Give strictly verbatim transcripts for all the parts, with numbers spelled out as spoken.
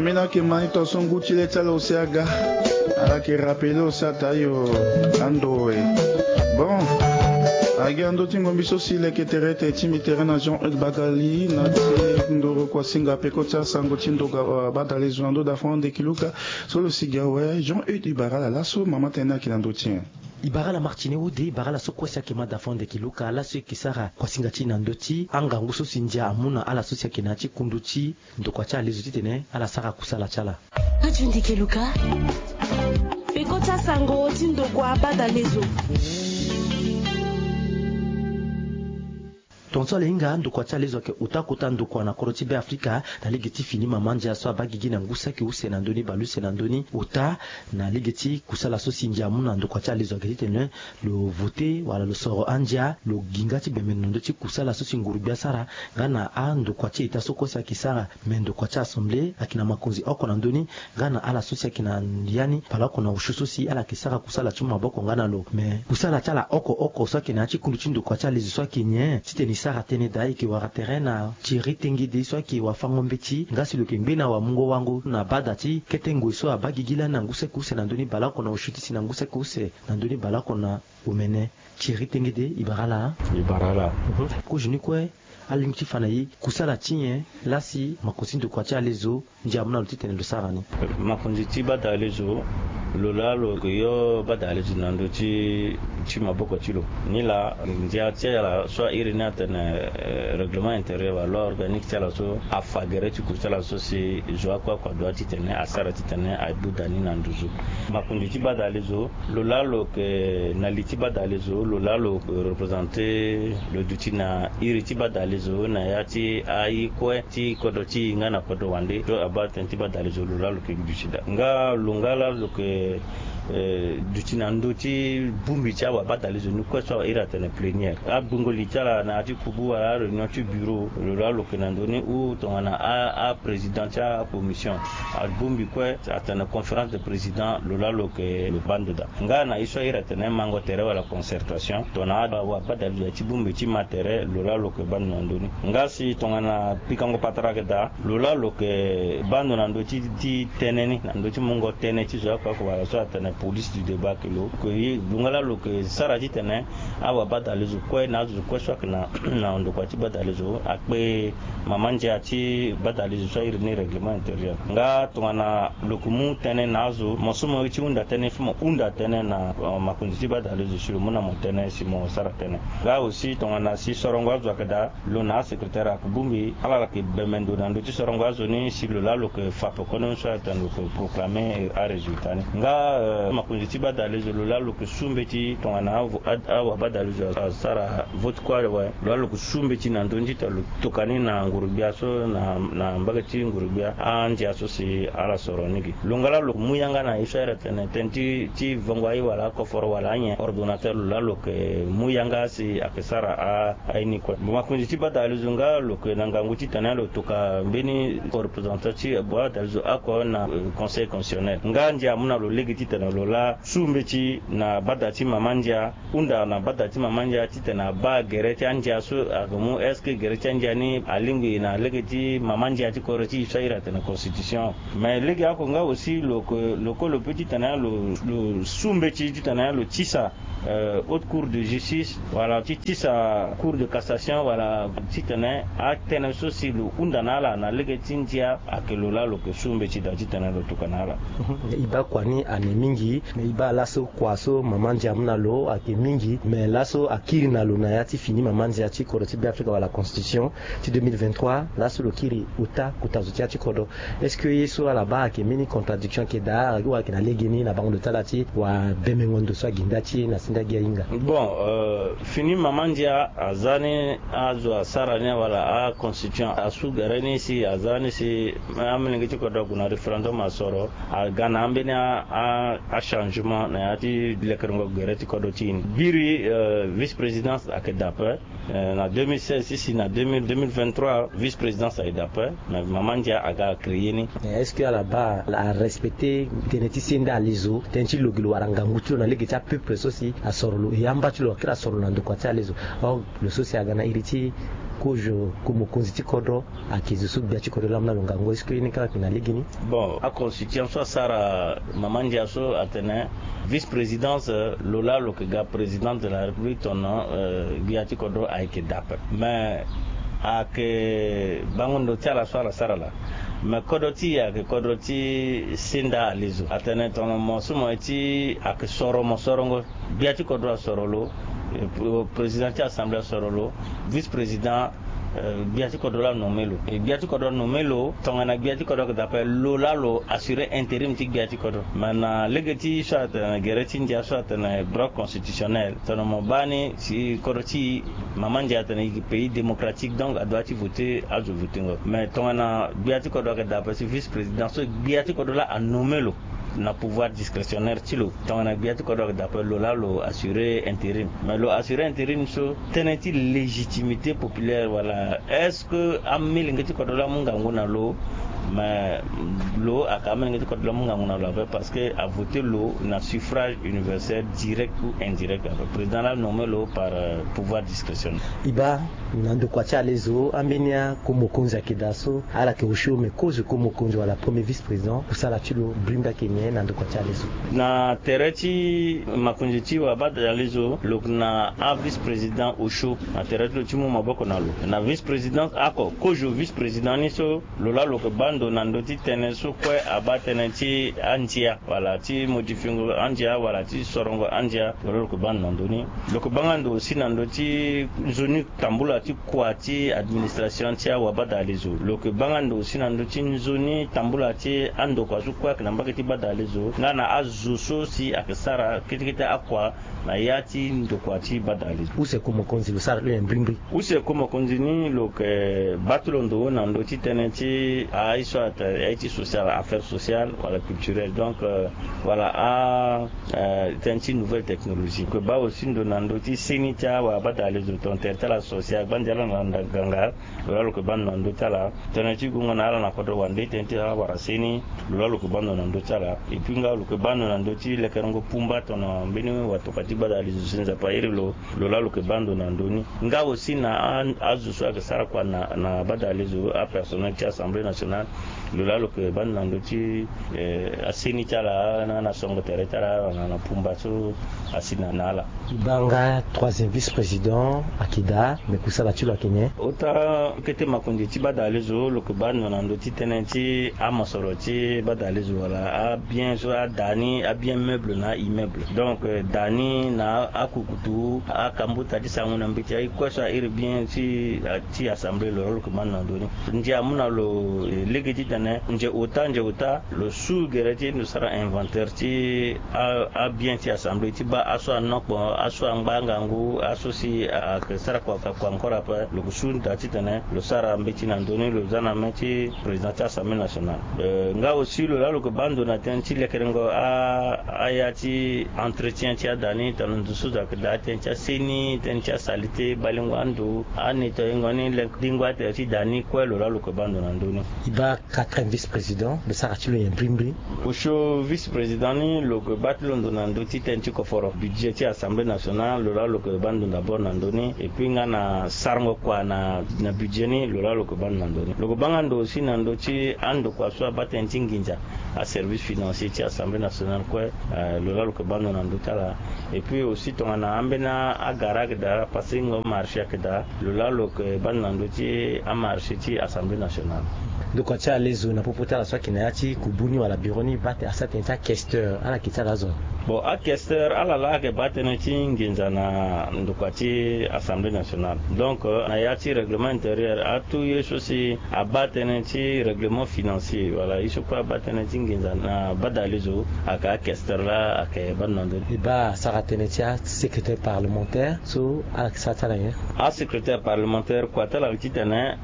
Mbi na yeke ma ni tongaso ngu ti le ti ala use aga. Ala yeke rapele use ata yo ando e. Bon, agi ando ti ngombi so si leke tere tene ti mbi tere na Jean Eudes Bagali na ti ndoro kuasinga peko ti asango ti ndoga, uh, badalezo na ndo da fond de kiluka. So lo si gi awe Jean Eudes, i bara ala laso mama tene ayeke na ndö ti nyen? I bara ala Martine Wode, i bara ala so kue si ayeke ma da fond de kiluka laso e yeke sara kuasinga ti e na ndö ti angangu so si ndia amu na ala so si ayeke na ya ti kundu ti ndokua ti alezo titene ala sara kusala ti ala. Peko ti asango ti ndokua badalezo. Tongaso ala hinga, ndokua ti alezo ayeke ota kota ndokua na kodro ti Beafrika na lege ti fini mama ndia so abaa gigi na ngu saki use na ndö ni baleuse na ndö ni ota na lege ti kusala so si ndia amu na ndokua ti alezo ayeke titene lo vote wala lo soro andia lo gi nga ti bembe na ndö ti kusala so si nguru-gbia asara nga na andokua ti eta so kue si ayeke sara. Me ndokua ti assemblée ayeke na makonzi oko na ndö ni nga na ala so si ayeke na ya ni baleoko na osio so si ala yeke sara kusala ti mu maboko nga na lo. Me kusala ti ala oko oko so ayeke na ya ti kundu ti ndokua ti alezo so ayeke nyen titene e sara tënë daa? E yeke wara tere na Thierry Tengede so ayeke wafango-mbeti nga si lo yeke ngbe na wamungo-wango na bada ti kete ngoi so abaa gigi lani na ngu saki use na ndö ni baleoko na osio ti si na ngu saki use na ndö ni baleoko na omene. Thierry Tengede, i bara ala. I bara ala. Kozo ni kue, alingbi ti fa na e kusala ti nyen laa si makonzi ti ndokua ti alezo ndia amu na lo titene lo sara ni? Makonzi ti badalezo, lo laa lo yeke yo badalezo na ndö ti ti maboko ti lo. Nilaa ndia ti ala so airi ni atene, eh, règlement intérieur wala loi organique ti ala so afa gere ti kusala so si zo akue akue adoit titene asara titene abuda ni na nduzu. Makonzi ti badalezo, lo laa lo yeke na li ti badalezo, lo laa lo yeke représenter lo duti na iri ti badalezo na ya ti aye kue ti kodro ti e nga na kodro wande so abaa tënë ti badalezo, lo laa lo yeke duti daa. Nga lo nga laa lo yeke, eh, duti na ndö ti bongbi ti awabadalezo ni kue so awa iri atene plénière. Agbongo li ti ala na ya ti kubu wala aréunion ti bureau, lo laa lo yeke na ndö ni ou tongana a, aprésident ti acommission. Abongbi kue atene conférence de président, lo laa lo yeke lo baa ndo daa. Nga na ye so airi atene mango tere wala concertation, tongana awabadalezo ya ti bongbi ti ma tere, lo laa lo yeke baa ndo na ndö ni. Nga si tongana pikango patara ayeke daa, lo laa lo yeke baa ndo na ndö ti, ti tënë ni, na ndö ti mungo tënë ti zo akue akue wala so atene police du débat ayeke lo. Lo nga laa lo yeke sara titene awabadalezo kue na azo kue so ayeke na, na ndokua ti badalezo akpe mama ndia ti badalezo so airi ni règlement intérieur. Nga tongana lo yeke mu tënë na azo, mo so mo ye ti hunda tënë, fo mo hunda tënë na, eh, makonzi ti badalezo si lo mu na mo tënë si mo sara tënë. Nga aussi tongana si sorongo azo ayeke daa, lo na asecrétaire ayeke bongbi, ala yeke bembe ndo na ndö ti sorongo azo ni si lo laa lo yeke fa pekoni so atene lo yeke proclamer arésultat ni. Nga, eh, makonzi ti badalezo, lo laa lo yeke su mbeti tongana avo-, ad-, awabadalezo asara vote kue awe, lo laa lo yeke su mbeti na ndö ni titene lo toka ni na nguru-gbia so na, na mbage ti nguru-gbia andia so si ala soro ni gi. Lo nga laa lo yeke mu yanga na ye so airi atene tënë ti, ti vongo aye wala akoforo wala anyen, ordonnateur, lo laa lo yeke mu yanga si ayeke sara a, aye ni kue. Bon, makonzi ti badalezo nga lo yeke na ngangu titene lo toka mbeni représentant ti badalezo oko na, eh, conseil constitutionnel. Nga ndia amu na lo lege titene lo laa su mbeti na bada ti mama ndia, hunda na bada ti mama ndia titene abaa gere ti andia so ayeke mu, est-ce que gere ti andia ni alingbi na lege ti mama ndia ti kodro ti e so airi atene constitution? Mais lege oko nga aussi lo yeke, lo yeke lo pe titene lo, lo su mbeti titene lo tisa, euh, Haute Cour de Justice, wala ti tisa Cour de Cassation, wala titene atënë so si lo hunda na ala na lege ti ndia ayeke lo laa lo yeke su mbeti daa titene lo tokua na ala. E baa kua ni ane mingi, me e baa laso kua so mama ndia amu na lo ayeke mingi, me laso akiri na lo na ya ti fini mama ndia ti kodro ti Beafrika wala constitution ti deux mille vingt-trois, laso lo kiri ota kota zo ti ya ti kodro. Est-ce que ye so ala baa ayeke mbeni contradiction ayeke daa, wala ayeke na legeni na bango ndo ti ala ti wabembengo ndo so aginda ti e na sende agi ahinga? Bon, euh, fini mama ndia aza ni azo asara ni wala aconstitution asu gere ni si aza ni si amolenge ti kodro ague na référendum asoro, aga na ambeni a, a, achangement na ya ti lekerengo gere ti kodro ti e ni. Biri, euh, vice-présidence ayeke daa ape. Euh, na deux mille seize ti si na deux mille, deux mille vingt-trois, vice-présidence ayeke daa ape. Mais mama ndia aga créer ni. Mais est-ce que ala baa ala arespecter tënë ti sende alezo, tënë ti lo gi lo wala ngangu ti lo na lege ti apeuple so si asoro lo, e amba ti lo akiri asoro lo na ndokua ti alezo? Or lo so si aga na iri ti Kozo ku mokonzi ti kodro ayeke zo so gbia ti kodro laa amu na lo ngangu est-ce que ye ni kaka ayeke na legeni? Bon, aconstitution so asara mama ndia so atene vice-présidence, lo laa lo yeke ga président de la république tono gbia ti kodro ayeke daa ape. Mais ayeke bango ndo ti ala so ala sara laa. Mais kodro ti e ayeke kodro ti senda alezo atene tono mo so mo ye ti ayeke soro mo sorongo. Gbia ti kodro asoro lo, président ti assemblée asoro lo, vice-président, gbia ti kodro laa anome lo. Gbia ti kodro anome lo tongana gbia ti kodro ayeke daa ape, lo laa lo assurer intérim ti gbia ti kodro. Mais na lege ti so atene gere ti ndia so atene droit constitutionnel, tono mo baa ni si kodro ti e, mama ndia atene e pays démocratique, donc adoit ti voter azo votengo. Mais tongana gbia ti kodro ayeke daa ape si vice-président so gbia ti kodro laa anome lo na pouvoir discrétionnaire ti lo, tongana gbia ti kodro ayeke daa ape, lo laa lo assurer intérim. Mais lo assurer intérim so tënë ti légitimité populaire wala est-ce que amilenge ti kodro laa amu ngangu na lo? Mais lo ayeke amilenge ti kodro laa amu ngangu na lo ape parce que avoter lo na suffrage universel direct ou indirect ape. Président laa anome lo par pouvoir discrétionnaire. E baa na ndokua ti alezo ambeni ako mokonzi ayeke daa so ala yeke osio me kozo ko mokonzi wala premier vice-président, kusala ti lo brimbri ayeke nyen na ndokua ti alezo? Na tere ti makonzi ti wabadalezo lo yeke na avice-président osio na tere ti lo ti mu maboko na lo na vice-président ako kozo vice-président ni so lo laa lo yeke baa ndo na ndö ti tënë so kue abaa tënë ti andia wala ti modifiengo andia wala ti sorongo andia. Lo laa lo yeke baa ndo na ndö ni. Lo yeke baa nga ndo aussi na ndö ti nzoni tambula ti kua ti administration ti awabadalezo. Lo yeke baa nga ndo aussi na ndö ti nzoni tambula ti andokua so kue ayeke na mbage ti badalezo nga na azo so si ayeke sara kete kete akua na ya ti ndokua ti badalezo. Use ko mokonzi lo sara ti lo nyen mbrimbri? Use ko mokonzi ni lo yeke baa ti lo ndo na ndö ti tënë ti aye so ayeke aye ti social, affaire sociale wala culturelle, donc wala a tënë ti nouvelle technologie. Lo yeke baa aussi ndo na ndö ti seni ti awabadalezo tontere ti ala so si agbandia ala na ganga. Lo laa lo yeke baa ndo na ndö ti ala tënë ti gongo na ala na kodro wande tënë ti awara seni. Lo laa lo yeke baa ndo na ndö ti ala. Et puis nga lo yeke baa ndo na ndö ti lekerengo pumba tono mbeni watokua ti badalezo si nzapa iri lo. Lo laa lo yeke baa ndo na ndö ni. Nga aussi na azo so ayeke sara kua na badalezo apersonnel ti assemblée nationale. Lo laa lo yeke baa ndo na ndö ti aseni ti ala na na songo tere ti ala na pumba so asi na ala. E baa nga troisième vice-président ayeke daa, me kusala ti lo ayeke nyen? Ota kete makonzi ti badalezo lo yeke baa ndo na ndö ti tënë ti amosoro ti badalezo wala abien so ada ni abien meuble na aimmeuble. Donc da ni na akukutu akambuta ti sango na mbeti aye kue so airi bien ti assemblée lo laa lo yeke baa ndo na ndö ni. Ndia amu na lo lege titene nze ota nze ota lo su gere ti e ndo sara inventaire ti abien ti assemblée ti baa aso anokpo aso angba angangu aso si ayeke sara kua encore ape lo yeke su daa titene lo sara mbeti na ndö ni lo za na mê ti président ti assemblée nationale. Nga aussi lo laa lo yeke baa ndo na tënë ti lekerengo aya ti entretien ti ada ni tongana ndo so zo ayeke daa tënë ti aseni tënë ti asalite balingo ando anetoyengo ni lengo atere ti da ni kue lo laa lo yeke baa ndo na ndö ni. E baa quatrième vice-président lo sara ti lo nyen mbrimbri? Osio vice-président ni lo yeke baa ti lo ndo na ndö ti tënë ti koforo budget ti assemblée nationale lo laa lo yeke baa ndo d'abord na ndö ni. Et puis nga na sarango kua na budget ni lo laa lo yeke baa ndo na ndö ni. Lo yeke baa nga ndo aussi na ndö ti andokua so abaa tënë ti nginza aservice financier ti assemblée nationale kue. Lo laa lo yeke baa ndo na ndö ti ala. Et puis aussi tongana ambeni agara ayeke daa pasengo marché ayeke daa lo laa lo yeke baa ndo na ndö ti amarché ti assemblée nationale. Ndokua ti alezo na popo ti ala so ayeke na ya ti kubu ni wala bureau ni baa tene asara tënë ti aquesteur ala yeke ti ala azo? Bon aquesteur ala laa ayeke baa tënë ti nginza na ndokua ti assemblée nationale. Donc na ya ti règlement intérieur atout ye so si abaa tënë ti règlement financier wala ye so kue abaa tënë ti nginza na badalezo ayeke aquesteur laa ayeke baa ndo na ndö ni. E baa asara tënë ti asecrétaire parlementaire so ala yeke sara ti ala nyen? Asecrétaire parlementaire kua ti ala yeke titene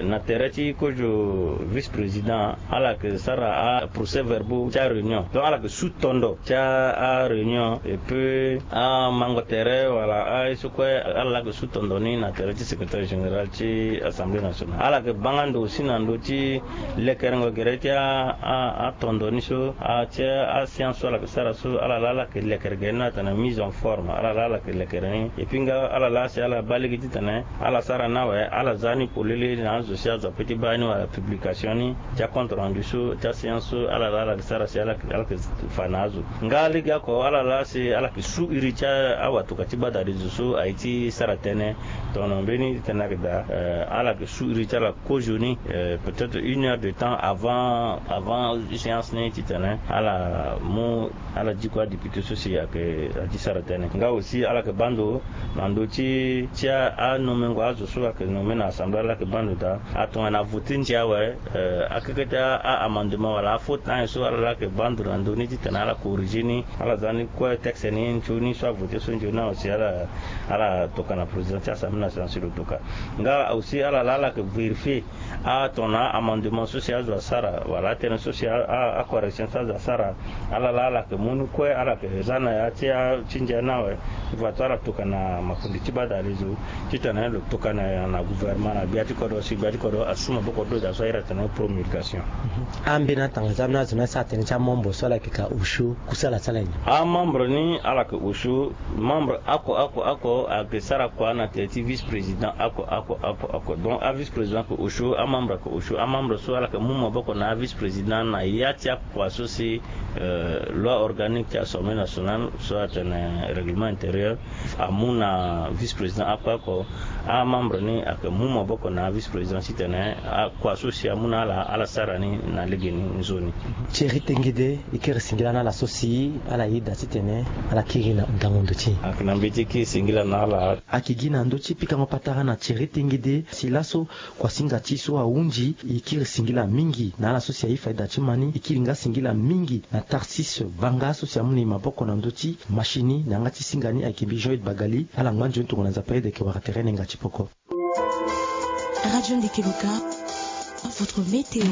na tere ti kozo Vice-président ala yeke sara aprocès-verbaux ti aréunion, donc ala yeke su tondo ti aréunion. Et puis amango tere wala aye so kue ala la yeke su tondo ni na tere ti secrétaire général ti Assemblée nationale. Ala yeke banga ndo aussi na ndö ti lekerengo gere ti atondo ni so, ti aséance so ala yeke sara so, ala la ala yeke lekere gere ni atene mise en forme, ala la ala yeke lekere ni. Et puis nga ala la asi ala baa lege titene ala sara ni awe, ala za ni polele na azo si azo ape ti baa ni wala publication ni ti acompte rendu so ti aséance so ala la ala yeke sara si ala yeke fa na azo. Nga lege oko ala la asi ala yeke su iri ti awatuka ti gbadari zo so aye ti sara tënë. Tongana mbeni titene ayeke daa, ala yeke su iri ti ala kozoni, peut-être une heure de temps avant avant séance ni titene ala mu ala diko adéputé so si ayeke aye ti sara tënë. Nga aussi ala yeke baa ndo na ndö ti ti anomengo azo so ayeke nome na assemblée, ala yeke baa ndo daa atongana avote ndia awe. Akeke ti aamendement wala afaute na ayen so ala la ayeke baa ndo na ndö ni titene ala corriger ni, ala za ni kue texte ni nzoni so avote so nzoni na aussi ala ala tokana président ti assemblée nationale si lo toka. Nga aussi ala la ala yeke vérifier atongana aamendement so si azo asara wala atënë so si acorrection so azo asara. Ala la ala yeke mu ni kue ala yeke za na ya ti ndia ni awe. Ivoire to ala tokana makonde ti gbadari zo titene lo tokana na gouvernement na gbia ti kodro si gbia ti kodro asu maboko ti lo daa so ahiri atene promulgation. Ambeni atanga za ambeni azo ni asara tënë ti amembre so ala yeke ka osio kusala ti ala nyen? Amembre ni ala yeke osio membre oko oko oko ayeke sara kua na tere ti vice-président oko oko oko oko. Donc avice-président ayeke osio amembre ayeke osio amembre so ala yeke mu maboko na avice-président na ya ti akua so si loi organique ti assemblée nationale so atene règlement intérieur amu na vice-président oko oko. Amembre ni ayeke mu maboko na avice-président titene akua so si amu na ala ala sara ni na legeni nzoni. Thierry Tengede, e kiri singila na ala so si ala yeda titene ala kiri na ngangu ndo ti e. Ayeke na mbeti e kiri singila na ala. Ayeke gi na ndö ti pikango patara na Thierry Tengede si laso kuasinga ti e so ahunzi. E kiri singila mingi na ala so si aye faida ti ma ni. E kiri nga singila mingi na Tarsis Vanga so si amu na e maboko na ndö ti machine ni na yanga ti singa ni ayeke mbi Jean Eude Bagali. Ala ngba nzoni tongana Nzapa ayeda e yeke wara tere na yenga ti poko. Radio Ndeke Loka, votre météo.